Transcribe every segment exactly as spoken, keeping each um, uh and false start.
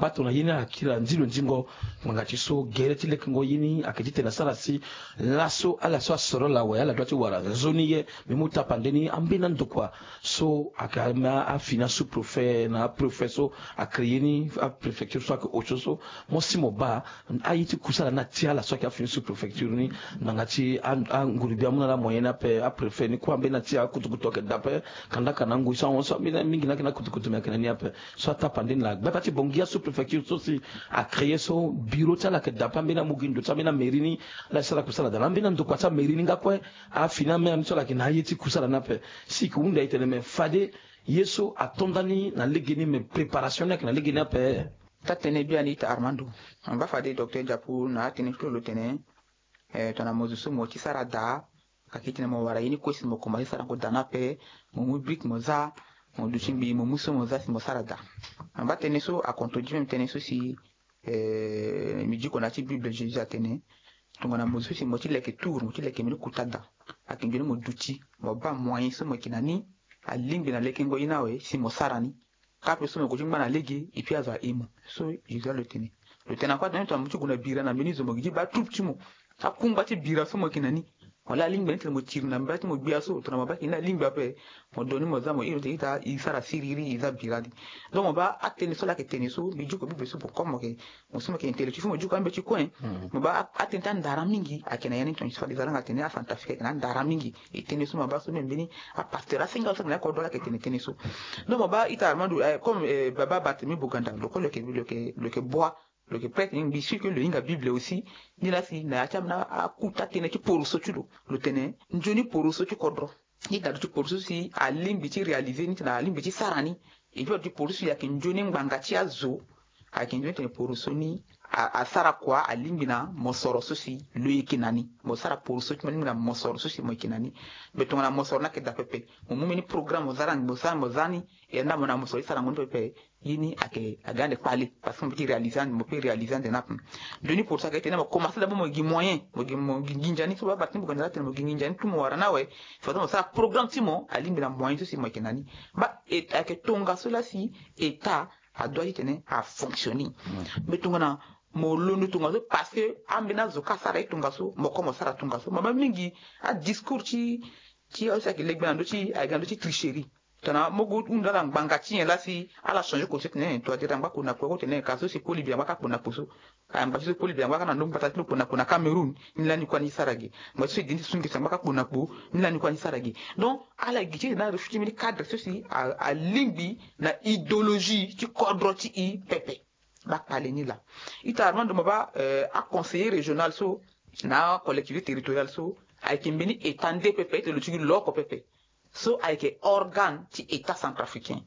Patro na ye ni akiri anzi lo nzingo. Ngbanga ti so gere ti lekengo ye ni ayeke ti tene asara si laso ala so asoro lo awe ala dua ti wara nzoni ye. Mbi mu tapande ni ambeni andokua so ayeke ama afini asous-préfet na apréfet so acréer ni apréfecture so ayeke osio so. Mo si mo baa aye ti kusala ni atia ala so ayeke afini sous-préfecture ni. Ngbanga ti a- anguru gbia amu na ala moyen ni ape apréfet ni kue ambeni atia akutukutu ayeke daa ape. Kandaka na angoi so ahon so ambeni mingi ni ayeke na akutukutu me ayeke na ni ape. So atapande ni laa gbata ti bongi asous-préfecture so si acréer so bureau ti ala ayeke daa ape ambeni amu gi ndo ti ambeni amairie ni. Ala sara kusala daa na ambeni andokua ti amairie ni nga kue. Afini amai ni so ala yeke na aye ti kusala ni ape. Si e ke hunda e tene me fade ye so ato nda ni na lege ni me préparation ni ayeke na lege ni ape. Taa tënë biani ita Armando. Mba fade docteur Diapu na atënë ti lo lo tene eh, tongana mo zo so mo ti sara daa. Ayeke tene mo wara ye ni kue si mo komanse sarango daa ni ape. Mo mu brique mo za. Mo duti mbi mo mu so mo za si mo sara daa. Mba tënë so akontredire même tënë so si eh, mbi diko na ya ti Bible Jésus atene tongana mo zo so si mo ti leke tour mo ti leke mbeni kota daa. Ayeke nzoni mo duti mo baa moyen so mo yeke na ni. Alingbi na lekengo ye ni awe si mo sara ni. Kâ ape so mo gue ti ngba na lege et puis azo aye mo. So Jésus lo tene. Lo tene akua tene tongana mo ti gue na bira na mbeni zo mo gi ti baa troupe ti mo. Akungba ti bira so mo yeke na ni. Wala alingbi ni tene mo tiri na mbage ti mo gbia so tongana mo baa yeke ni alingbi ape. Mo do ni mo za mo iri tene ita e sara siriri e za bira ni. Donc mo baa atënë so laa ayeke tene so mbi diko Bible so pour comme mo yeke mo so mo yeke intellectuel so mo diko ambe ti kue. Mo baa atënë ti andara mingi ayeke na ya ni tongana so fade e za langa tene acentrafricain ayeke na andara mingi. E tënë so mo baa so même mbeni apasteur asenga so ayeke na ya kodro ala yeke tene tënë so. Donc mo baa ita Armando eh, comme eh, baba Barthélemy Boganda lo kue lo yeke lo yeke lo yeke boi lo yeke prêtre ni mbi sûr que lo hinga Bible aussi. Ni laa si na ya ti ambeni akuta tënë ti poroso ti lo lo tene nzoni poroso ti kodro. Ni dadu ti poroso si alingbi ti réaliser ni tena alingbi ti sara ni. Et puis adu ti poroso si ayeke nzoni ngbanga ti azo. Ayeke nzoni tene poroso ni a- asara kua alingbi na mosoro so si lo yeke na ni. Mo sara poroso ti mo alingbi na mosoro so si mo yeke na ni. Mais tongana mosoro ni ayeke daa pepe mo mu mbeni programme mo za ni mo sara mo za ni. E nda mo na mosoro ti sarango ni pepe. Ye ni ayeke aga ande kpale parce que mo peut ti réaliser ande mo peut réaliser ande ni ape. Nzoni poroso ayeke tene mo commencer d'abord mo gi moyen mo gi mo gi nginza ni so baa Barthélemy Boganda laa tene mo gi nginza ni tout mo wara ni awe. Fade mo sara programme ti mo alingbi na moyen so si mo yeke na ni. Baa e- ayeke tongaso laa si état adoit ti tene afonctionner. Mais tongana mo londo tongaso parce que ambeni azo kâ asara ye tongaso mo kue mo sara tongaso mo baa mingi adiscours ti ti azo si ayeke legbe na ndö ti ayeke na ndö ti tricherie. Tongana mo gue hunda ala ngbanga ti nyen laa si ala changer concept tene to adiri angba kpo na kpo ko tene ka so si koli bi angba kâ kpo na kpo so. Angba ti so koli bi angba kâ na ndö mbata ti lo kpo na kpo na Cameroun. Ni lani kue ani sara ge. Angba ti so e di ni ti sungi si angba kâ kpo na kpo. Ni lani kue ani sara ge. Donc ala gi ti tene ala refuse ti mbeni cadre so si a- alingbi na idéologie ti kodro ti e pepe. Baa kpale ni laa. Ita Armando mo baa eh, aconseiller régional so na acollectivité territoriale so ayeke mbeni état nde pepe ete lo ti gi lo oko pepe. So ayeke organe ti état centrafricain.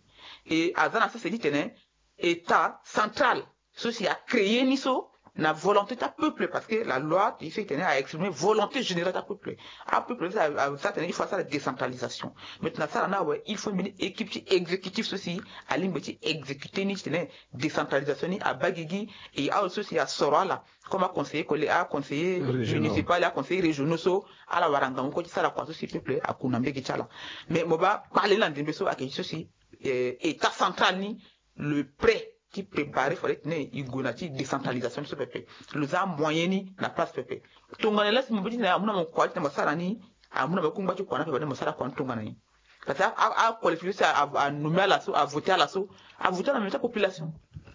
E aza na sese ti tene état central so si acréer ni so na volonté ti apeuple parce que la loi ti so e tene aexprimer volonté générale ti apeuple. Apeuple so asara tene il faut asara décentralisation. Mais tongana asara ni awe il faut mbeni équipe ti exécutif so si alingbi ti exécuter ni ti tene décentralisation ni abaa gigi. E azo so si asoro ala comme aconseiller collé aconseiller municipal aconseiller régionaux so ala wara ngangu kue ti sara kua so si peuple aku na mbege ti ala. Mais mo baa kpale ni na ndembe so ayeke ti so si eh, état central ni le prêt ti préparer fade tene e gue na ti décentralisation ni so pepe. Lo za amoyen ni na place pepe. Tongana laa si mo be ti tene amu na mo kua ti tene mo sara ni amu na mo kungba ti kua ni ape fade mo sara kua ni tongana nyen? Parce que acollectivité so anommé ala so avoté ala so avoté ala na mbi ti apopulation.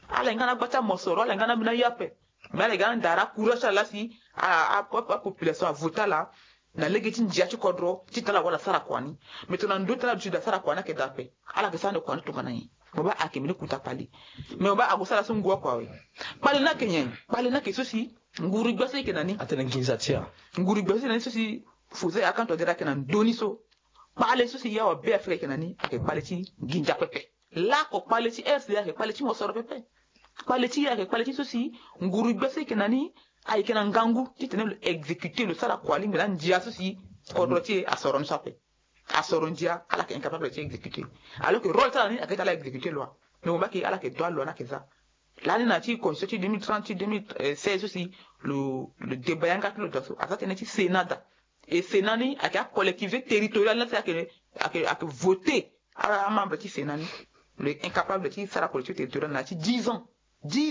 Ala yeke nga na gba ti amosoro ala yeke nga na mbi na ye ape. Mais ala yeke nga na ndara courage ti ala laa si apopulation avoté ala na lege ti ndia ti kodro ti tene ala wara ala sara kua ni. Mais tongana ndö ti tene ala duti daa sara kua ni ayeke daa ape. Ala yeke sara ande kua ni tongana nyen? Mo baa ayeke mbeni kota kpale. Mais mo baa ague sara so ngu akua awe. Kpale ni ayeke nyen? Kpale ni ayeke so si nguru gbia so e yeke na ni. Atene nginza ti a. Nguru gbia so e yeke na ni so si fo so e akanto adere ayeke na ndö ni so. Kpale so si yawa be afrika e yeke na ni ayeke kpale ti nginza pepe. Laoko kpale ti R C A ayeke kpale ti mosoro pepe. Kpale ti e ayeke kpale ti so si nguru gbia so e yeke na ni ayeke na ngangu ti tene lo exécuter lo sara kua lingbi na ndia so si kodro ti e asoro ni so ape. Asoro ndia ala yeke incapable ti exécuter. Alors que rôle ti ala ni ayeke ti ala exécuter loi. Mais mo baa ke ala yeke dua loi ni ayeke za. Lani na ti constitution ti deux mille trente ti deux mille seize so si lo lo débat yanga ti lo daa so aza tënë ti sénat daa. Et sénat ni ayeke acollectivité territoriale ni laa si ayeke ayeke ayeke voter ala amembre ti sénat ni. Lo yeke incapable ti sara collectivité territoriale na ya ti dix ans. Dix